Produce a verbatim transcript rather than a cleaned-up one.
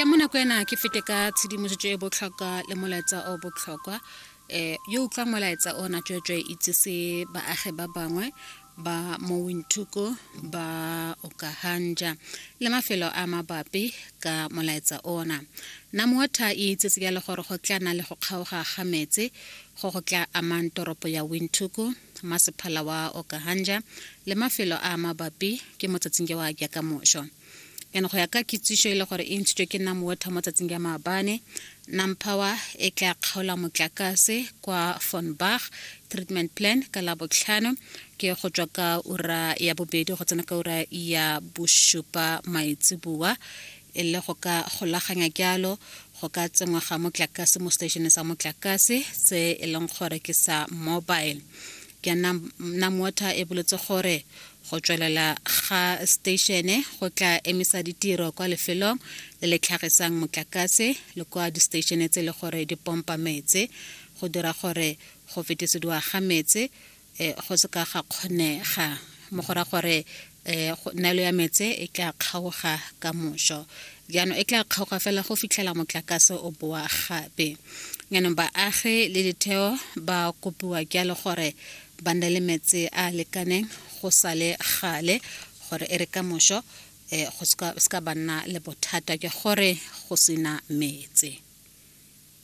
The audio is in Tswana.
Ke mo nako ena ke fete ka tshedimosetso e botlhokwa le molaetsa o botlhokwa. um yo utlwang molaetsa ona, tsweetswe itsese baagi ba bangwe ba mo Windhoek, ba Okahandja le mafelo a mabapi ka molaetsa ona. NamWater e itsetse jalo gore go tla nna le go kgaoga ga metsi go go tla amang toropo ya Windhoek, masephala wa Okahandja le mafelo a mabapi ke mo tsatsing ja wa jaaka mošo. Jaanong go ya ka kitsiso e le gore e ntshitswe ke NamWater mo tsatsing ja maabane, NamPower e tla kgaola motlakase kwa Von Bach treatment plan ka Labotlhano, ke go tswa ka ura ya bobedi go tsena ka ura ya bosupa maitseboa, e le go ka golaganya jalo go ka tsenngwa ga motlakase mo stationeng sa motlakase se e leng gore ke sa mobile. Ke NamWater e boletse gore go tswelela ga statione go tla emisa ditiro kwa lefelong le le tlhagisang motlakase le kwa di-statione tse e le gore di pompa metsi, go dira gore go fetisediwa ga metsi um go se ka ga kgonega, mo go raya gore um neelo ya metsi e tla kgaoga ka moso. Jaanong e tla kgaoga fela go fitlhela motlakase o boa gape. Jaanong baagi le ditheo ba kopiwa jalo gore ba nne le metsi a a lekaneng go sale gale, gore e re ka moso um go seka ba nna le bothata ke gore go sena metsi.